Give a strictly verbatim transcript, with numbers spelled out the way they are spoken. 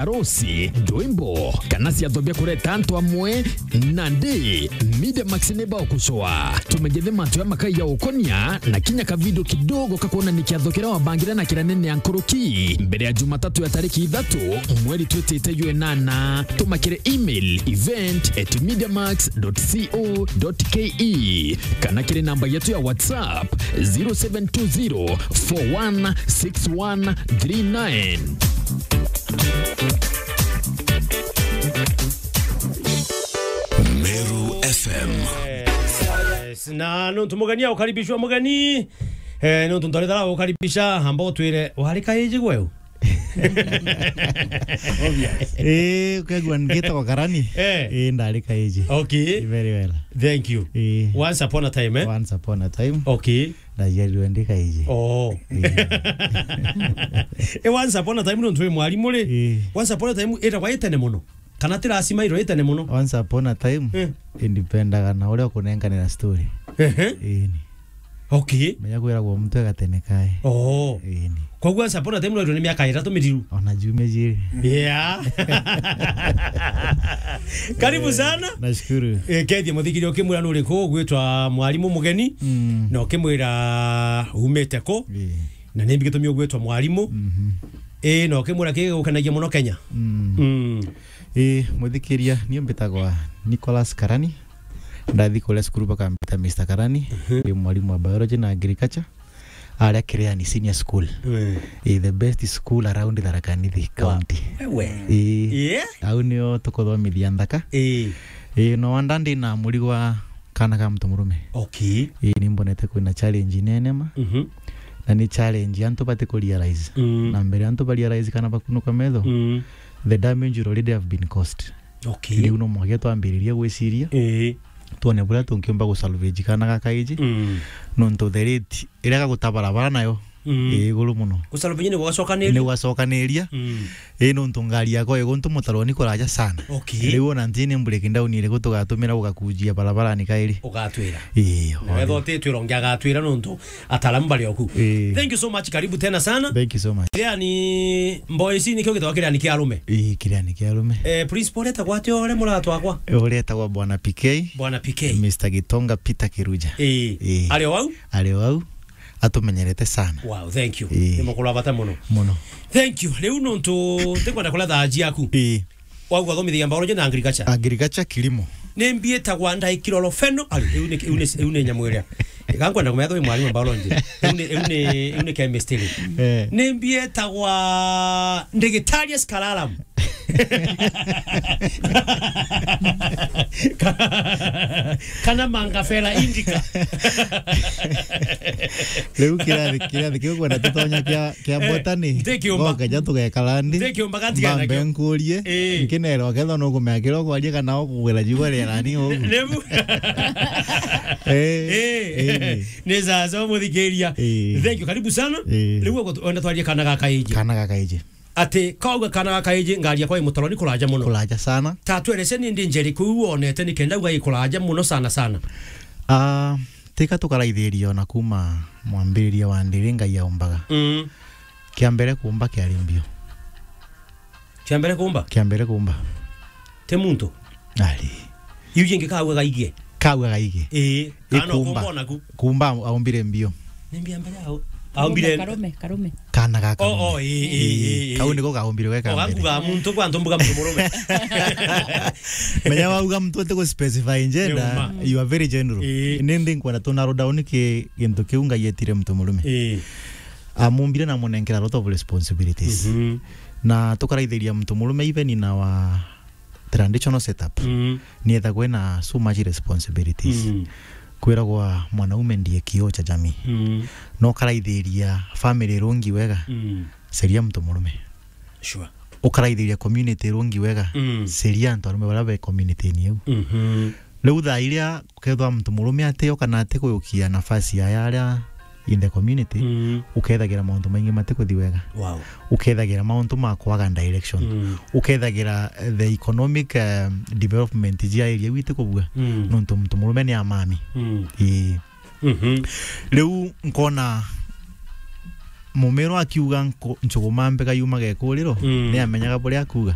Arusi, ndwimbo, kana ciatho bia kureta antu amwe, nandi Media Max ni bagucoa. Tumenyithe mantu ja makai ja ukonia na kinya kavidio kidogo ka kwonania kiatho kiria wabangire na kiria nene ya nkuruki mbere ya Jumatatu ya tariki ithatu mweri twitite jwa inana. Tuma kiri email event at mediamax dot co dot ke kana kiri namba yetu ya WhatsApp zero seven two zero four one six one three nine. Meru F M. Yes, na nontu mugeni aukaribishwa mugeni, eh, nontu ndarithara ukaribisha, amba utwire wari kaiji gweu? Obvious. Eh, ukegua ngitagwa Karani? Eh. Eh, ndari kaiji. Okay. Very well. Thank you. Eh. Once upon a time, eh? Once upon a time. Okay. Ndaciarirwe ndi kaiji. Oh. Eh. Eh, once upon a time nontu wi mwarimu ri? Eh. Once upon a time itagwa itene muno. Kana ti lazima iro itene muno. Once upon a time, eh, indipendaga na uria ukunenganira story. Ehe. Ii ni. Okay. Menya kwiragwo mtu agatene kae. Oh. Ii ni. Koguo once upon a time no ni miaka itatu mithiru. Ona jumia jiri. Yeah. Karibu sana. Nashukuru. Eh, kethia muthikiri ukimwira nuri ku gwitwa mwarimu mugeni. Mm. Na ukimwira umite ku. Ii. Na nimbi gitumi ugwitwa mwarimu. Mhm. Ii, na ukimwira kigukanagia muno Kenya. Mm. Mm. Ii, muthikiria, ni mbitagwa Nicholas Karani. Ndathi kuria cukuru bakambita Mister Karani. Mhm. Ndi mwarimu wa biology na agriculture. Aria Kireani Senior School. Mm. Ii, the best school around Tharaka Nithi County. Wewe. Ii. Yeah. Au nio tukuthomithia nthaka. Ii. Ii, no wanda ndi na murigo wa kana ka mtu murume. Okay. Ii, ni mbonete kwina challenge nene ma. Mhm. Na ni challenge antu bati ku realize. Mm. Na mbere antu ba realize kana bakunuka metho, mm, the damage will already have been caused. Okay. Riu no mwanka twambiririe gwiciria. Ii. Twone buria tungiumba gu salvage kana ga kaiji. Mm. Nontu the rate iria gaguta barabara nayo, mm, ii iguru muno. Gu salvage ni gwacokaniria? Ni gwacokaniria. Mm. Ii, nontu ngari yakwa iguntu mutaroni kuraja sana. Okay. Riu ona ntini breakdown iriku tugatumira gugakujia barabarani kairi? Ugatwira. Ii. Na wethwa utitwira ungi agatwira nontu ataalamu bari oku. Ii. Thank you so much, karibu tena sana. Thank you so much. Kireani, mboy ici nikio gitagwa Kireani kia arume? Ii, Kireani kia arume. Eh, principal etagwa atia uria muratwakwa? Uria etagwa Bwana P K. Bwana P K. Mister Gitonga Peter Kiruja. Ii. Ii. Ari o au? Ari o au. Atumenyerete sana. Wow, thank you. Ii. Ni mukuru wa bata muno. Muno. Thank you. Riu nontu tikwenda kuria thaa ciaku. Ii. Wauga uthomithagia biology na agriculture? Agriculture, kilimo. Ni mbietagwa ndaikiroro feno. Ari, iu ni, iu ni, iu ni nyamu iria. Ika nkwenda kumenya twi mwarimu wa biology. Iu ni, iu ni, iu ni chemistry. Eh. Ni mbietagwa ndigitarius kalalam. Kana mangafera indica. Riu kirathi, kirathi kiu kwenda tutonya kia, kia, eh, botany. Ntikiumba. Gokeja tugekara nthi. Ntikiumba gatiga mbambe nakio. Nkurie. Eh. Nkinerwa kethwa nukumenya kiria ukwaria kana ukugwira jigwa rierani ugu. Riu. Eh. Eh. Eh. Ni sasa muthikiria. Eh. Thank you. Karibu sana. Eh. Riu wenda twarie kana ga kaiji. Kana ga kaiji. Ati kauga kana ga kaiji, ngari yakwa i mutaroni kuraja muno. Kuraja sana. Ta twerece ni ndi njeri kuu wonete ni kenda uga i kuraja muno sana sana. Ah, tika tukaraithiria ona kuma mwambiriria wa ndiri Ngai aumbaga. Mm. Kia mbere kuumba kiari mbio. Kia mbere kuumba? Kia mbere kuumba. Ti muntu? Ari. Iu jingi kauga gaigie? Kauga gaigie. Ii. Ii, kana kuumba. Kuumba onaku? Kuumba aumbire mbio. Ni mbia mbere au? Aumbire karume, karume. Kana ga karume. Oh, oh, ii, ii, ii, ii. Kau niko kaumbire we ka mbere. Ogakuga muntu kwa ntumbuga muntu murume. Menya wauga muntu ati ku specify gender, ni uma. You are very general. Ii. Ni ndi nkwenda tu narrow down ki gintu kiu Ngai etire muntu murume. Ii. Amumbire na amunenkera a lot of responsibilities. Mhm. Na tukaraithiria muntu murume even in our traditional setup, mm, ni ethagwa ena so much responsibilities. Mm. Kwiragwa mwanaume ndiye kioo cha jamii. Mm. No ukaraithiria family rungi wega, mm, seria mtu murume. Sure. Ukaraithiria community rungi wega, mm, seria antu arume baria be community-ini iu. Mhm. Riu thaa iria ukethwa mtu murume atio kana atikuyukia nafasi ya aria in the community, mm, ukethagira mauntu maingi matikuthi wega. Wow. Ukethagira mauntu ma kwaga direction. Mm. Ukethagira, eh, the economic, eh, development jia area iu itikubua. Mm. Nontu mtu murume ni amami. Mm. Ii. Mhm. Riu nkona Mumiru akiuga nku-, njuguma mbega yumaga ikuriro, Mm. ni amenyaga buria akuuga.